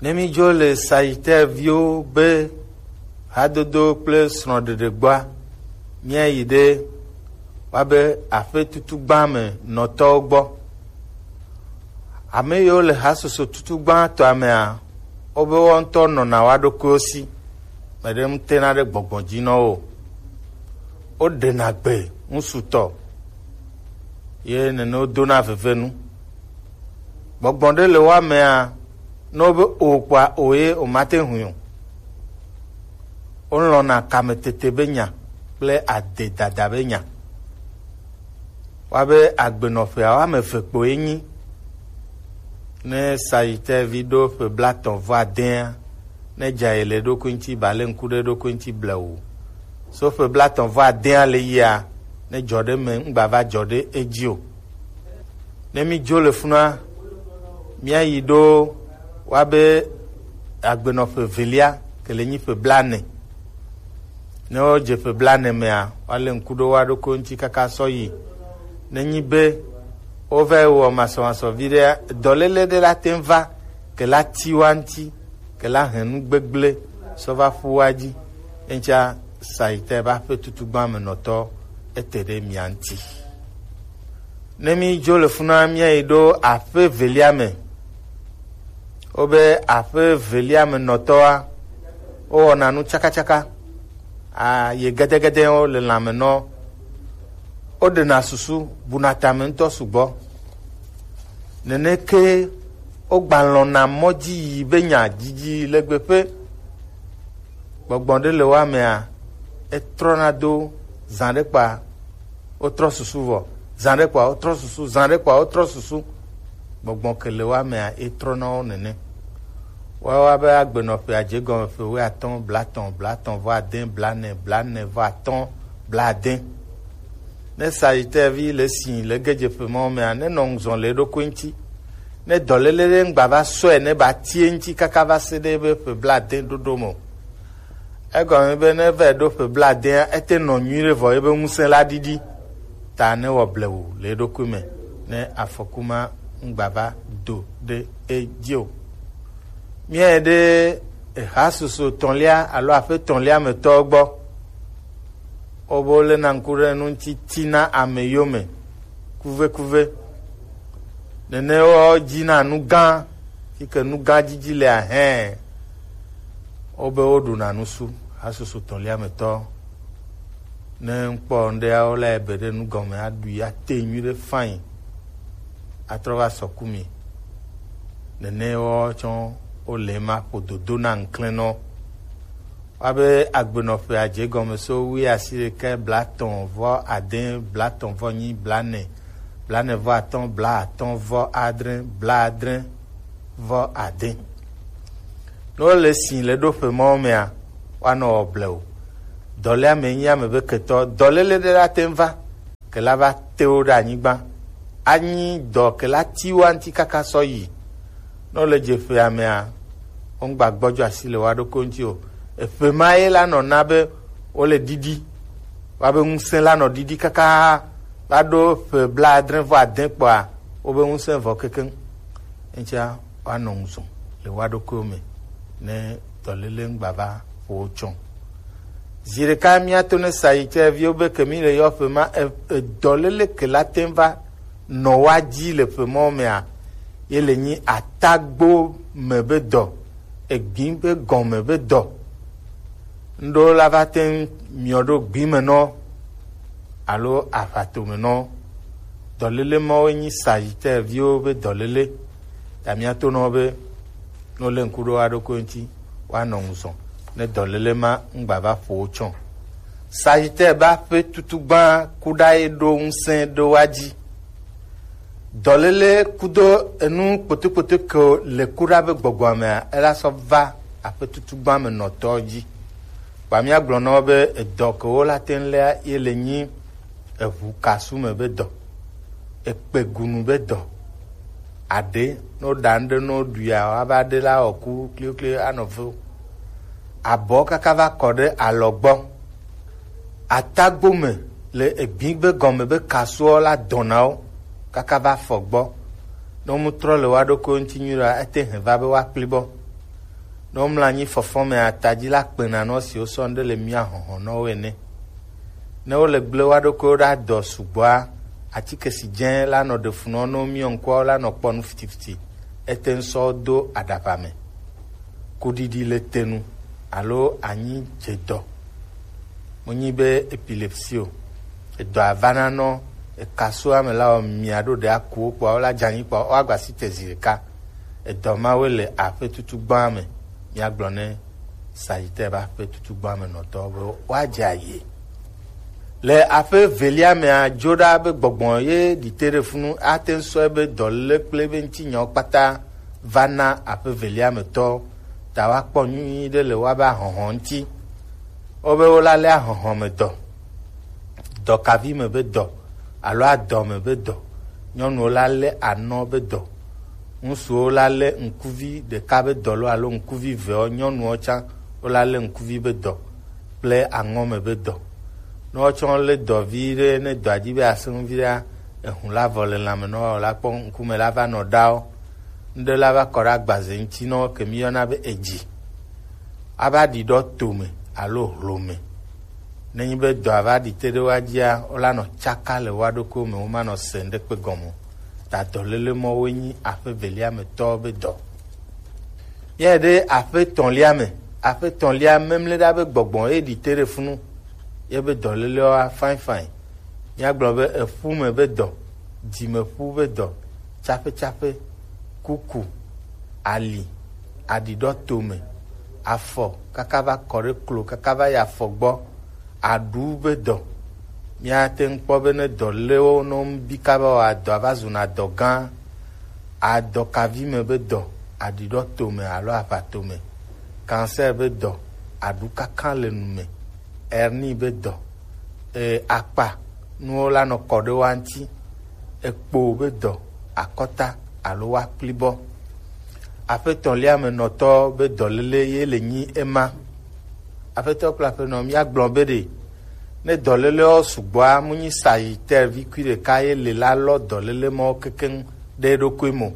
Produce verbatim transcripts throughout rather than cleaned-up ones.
Ne mi dzo le Sagittaire viwo be hadodo kple srɔ̃ɖeɖe gbɔa, míayi ɖe woabe aƒe tutugba me nɔtɔwo gbɔ. Ame yiwo le hasoso tutugba tɔa mea, wobe woawo ŋutɔ nɔna woa ɖokuiwo si. Meɖe ŋutena ɖe gbɔgbɔ dzi nɔ wo. Woɖena gbe ŋusutɔ, ye nene wodona vevenu. Gbɔgbɔ ɖe le woa mea, ne wobe o kpɔa, o ye womate ŋui o. Wolɔ̃na kametete be nya kple adedada be nya. Woabe agbenɔƒea woame eve kpoe nyi. Ne Sagittaire vi ɖo ƒe blaetɔ̃ vɔ adea, ne dza yi le eɖokui ŋuti, ba le ŋku ɖe eɖokui ŋuti blewu. So ƒe blaetɔ̃ vɔ adea le yia, ne dzɔ ɖe me ŋgba va dzɔ ɖe edzi o. Ne mi dzo le funua, míayi ɖo woabe agbenɔƒe velia, ke le nyi ƒe blaene. Ne wodze ƒe blaene mea, woalé ŋku ɖo woa ɖokui ŋuti kaka sɔ yi. Nenyi be wova yi wɔ masɔmasɔ viɖea, dɔléle ɖe la te ŋu va ke la ti woa ŋuti, ke la hɛn nu gbegblẽ sɔ va ƒu woa dzi. Eŋutia Sagittaire ƒe aƒe tutugba me nɔtɔ ete ɖe mia ŋuti. Ne mi dzo le funua, míayi ɖo aƒe velia me. Wobe aƒe velia me nɔtɔa, wowɔna nu tsakatsaka. A, ye gedegede wo le lãme nɔ. Woɖena susu, buna tame ŋutɔ sugbɔ. Neneke wogbalɔ̃na mɔ dzi yi be nya didi le gbeƒe. Gbɔgbɔ ɖe le woa mea, etrɔna do zã ɖe kpa, wotrɔ susu vɔ, zã ɖe kpa, wotrɔ susu, zã ɖe kpa, wotrɔ susu. Gbɔgbɔ ke le woa mea, etrɔna wo nene. Woawo be agbenɔƒea dze gɔme ƒe wuiatɔ̃, blaetɔ̃, blaetɔ̃ vɔ ade, blaene, blaene vɔ atɔ̃, blaade. Ne Sagittaire vi le si le gedzeƒe mawo mea, nenɔ ŋuzɔ le eɖokui ŋuti. Ne dɔléle ɖe ŋgba va sɔe ne ba tie ŋuti kaka va se ɖe ebe ƒe blaade ɖoɖo me o. Egɔme be ne va ɖo ƒe blaadea, ete nɔ nyuiɖe vɔ ebe ŋusẽ la ɖiɖi. Ta ne wɔ blewu le eɖokui me, ne afɔku ma ŋgba va do ɖe edzi o. Míayi ɖe ehasusu etɔ̃lia alo aƒe etɔ̃lia me tɔwo gbɔ. Wobe woléna ŋku ɖe nu ŋuti tina ame yome kuvekuve. Nene wo dzina nu gã, yi ke nu gã didi le ahɛ. Wobe woɖuna nusu, hasusu tɔ̃lia me tɔ. Ne ŋkpɔ ŋɖea, wo la ebe ɖe nu gɔme, aɖui, ate nyui ɖe fain, atrɔ va sɔ ku mi. Nene wo tsɔ wo le ma ƒo dodo na ŋklɛnɔ. Woabe agbenɔƒea dze gɔme so wuiasiɖekɛ, blaetɔ̃ vɔ ade, blaetɔ̃ vɔ nyi, blaene, blaene vɔ atɔ̃, blaatɔ̃ vɔ adre, blaadre vɔ ade. Ne wole si le ɖoƒe mawo mea, woanɔ wɔ blewu. Dɔléa me nyi ame be ketɔ, dɔléle ɖe la te ŋu va, ke la va te wo ɖe anyigba. Anyi dɔ ke la ti woa ŋuti kaka sɔ yi. Ne wole dzeƒea mea, womgba gbɔdzɔ asi le woa ɖokui ŋuti o. Eƒe ma ye la nɔ na be wole ɖiɖi. Woabe ŋusẽ la nɔ ɖiɖi kaka va ɖo ƒe blaadre vɔ ade kpɔa, wobe ŋusẽ vɔ kekeŋ. Eŋutia woanɔ ŋuzɔ le woa ɖokuiwo me ne dɔléle ŋgba va ƒo wo tsɔ. Zi ɖeka míato ne Sagittaire viwo be ke mi le yɔ ƒe ma, e-, edɔléle ke la te ŋu va nɔ woa dzi le ƒe mawo mea, ye le nyi atagbo me be dɔ, egbi be gɔme be dɔ. Ŋɖewo la va te ŋu miɔ ɖo gbi me nɔ alo aʋato me nɔ. Dɔléle mawo nyi Sagittaire viwo be dɔléle. Ya míato nɔ be ne wolé ŋku ɖo woa ɖokui ŋuti, woanɔ ŋuzɔ ne dɔléle ma ŋgba va ƒo wo tsɔ. Sagittaire be aƒe tutugba kuɖa ye ɖo ŋusẽ ɖo woa dzi. Dɔléle kudo enu kpotokpoto ke le kuɖa be gbɔgbɔa mea, ela sɔ va aƒe tutugba me nɔtɔ dzi. Kpa míagblɔ na wo be edɔ ke wo la te ŋu léa ye le nyi eʋu kasu me be dɔ, ekpegunu be dɔ. Aɖe, ne woɖa nu ɖe ne woɖuia, woava ɖe la wɔ ku klikli anɔ ve. Abɔ kaka va kɔ ɖe alɔ gbɔ. Atagbo me le egbi be gɔme be kasuɔ la dɔna wo kaka va fɔ gbɔ. Ne wometrɔ le woa ɖokuiwo ŋuti nyuie ɖoa, ete hɛn va be woakpli bɔ. Ne womlɔ anyi fɔfɔ me ataji la kpena nɔ si wosɔ ŋɖe le mia hɔhɔ nɔ wo ene. Ne wole gble wa ɖokuiwo ɖa dɔ sugbɔa, atike si dze la nɔ ɖe fu nɔ no miɔ ŋkua la nɔ kpɔ nu fitifiti. Ete ŋu sɔ do aɖaʋa me. Kuɖiɖi le te nu alo anyi dze dɔ. Menyi be epilepsie o. Edɔ avana nɔ ekasoa me la wɔ mia ɖo ɖe akuwo kpɔa wola dze anyi kpɔa woagba si te zi ɖeka. Edɔ mawoe le aƒe tutugbã me. Míagblɔ ne Sagittaire ƒe aƒe tutugbã me nɔtɔwo be woadze aye. Le aƒe velia mea, dzo ɖa be gbɔgbɔ ye ɖite ɖe funu ate ŋu sɔe be dɔléle kple be ŋutinyawo kpata va na aƒe velia me tɔ ta woakpɔ nyuie ɖe le woabe ahɔhɔ ŋuti. Wobe wolalé ahɔhɔ me dɔ, dɔkavi me be dɔ, alo adɔ me be dɔ. Nyɔnuwo la lé anɔ be dɔ. Ŋutsuwo la lé ŋkuvi ɖeka be dɔ lo alo ŋkuvi vewo, nyɔnuwo tsã wo la lé ŋkuvi be dɔ kple aŋɔ me be dɔ. Ne wotsɔ lé dɔ vi ɖe, ne dɔa dzi be asẽ ŋu vi ɖea, ehun la vɔ le lãme nɔ wa wòla kpɔ ŋkume la va nɔ ɖawo. Ŋɖe la va kɔ ɖe agbaze ŋuti nɔ ke mi yɔna be edzi. Ava ɖi ɖɔ tome alo hlome. Nenyi be dɔa va ɖi te ɖe woa dzia, wola nɔ tsaka le woa ɖokuiwo me, womanɔ se ŋɖekpe gɔme o. Ta dɔléle mɔwoe nyi aƒe velia me tɔwo be dɔ. Yɛ ɖe aƒe tɔ̃lia me, aƒe tɔ̃lia memle ɖa be gbɔgbɔ ye ɖi te ɖe funu. Ye be dɔlélewa fain fain. Míagblɔ be eƒu me be dɔ, dzimeƒu be dɔ, tsaƒetsaƒe, kuku, ali, aɖiɖɔ tome, afɔ kaka va kɔ ɖe klo kaka va yi afɔ gbɔ, aɖu be dɔ. Míate ŋu kpɔ be ne dɔléwo nɔ ŋu bi kaba o, adɔa va zuna dɔ gã. Adɔkavi me be dɔ, aɖiɖɔ tome alo aʋa tome, cancer be dɔ, aɖu kakã le nu me, hernie be dɔ, e, akpa nuwo la nɔ kɔ ɖe wa ŋuti, ekpo be dɔ, akɔta alo wa kplibɔ. Aƒetɔ̃lia me nɔtɔ be dɔléle ye le nyi ema. Aƒetɔ kple aƒenɔ, míagblɔ be ɖe ne dɔlélewo sugbɔa, mu nyi Sagittaire vi kui ɖeka ye le la lɔ dɔléle mɔwo kekeŋ ɖe eɖokui me o.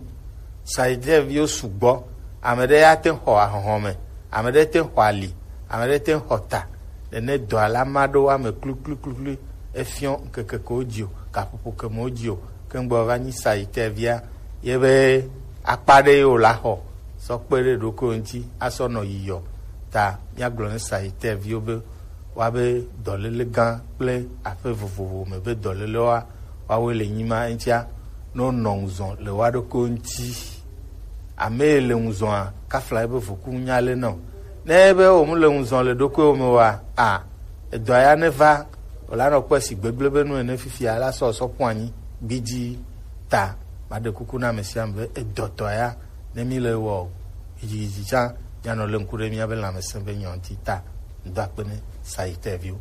Sagittaire viwo sugbɔ. Ame ɖe ya te xɔ ahɔhɔ me, ame ɖe te xɔ ali, ame ɖe te xɔ ta. Nene dɔa la ma ɖo wa me kluklukluklui. Efiɔ ŋkeke ke wo dzi o, gaƒoƒo ke me wo dzi o, ke ŋgbɔ va nyi Sagittaire via, ye be akpa ɖe ye wo la xɔ sɔ kpe ɖe ɖokui ŋuti asɔ nɔ yiyɔ. Ta míagblɔ ne Sagittaire viwo be woabe dɔléle gã kple aƒe vovovo me be dɔlélewoa, woawoe le nyima ŋutia, ne wonɔ ŋuzɔ le woa ɖokuiwo ŋuti. Ame yi le ŋuzɔa, kafla ebe voku ŋu nya le nɔ. Ne ebe wo mu le ŋuzɔ le ɖokuiwo me wa, a, edɔa ya ne va, wòla nɔ kpɔe si gbegblẽ be nu ene fifia la sɔ sɔ ƒu anyi gbidzi. Ta maɖe kuku na ame sia ame be edɔtɔ ya, ne mi le wɔ yidziyidzidza, mianɔ le ŋku ɖe miabe lãmesẽ be nyɔ ŋuti ta. Ŋdɔ akpe ne Sagittaire viwo.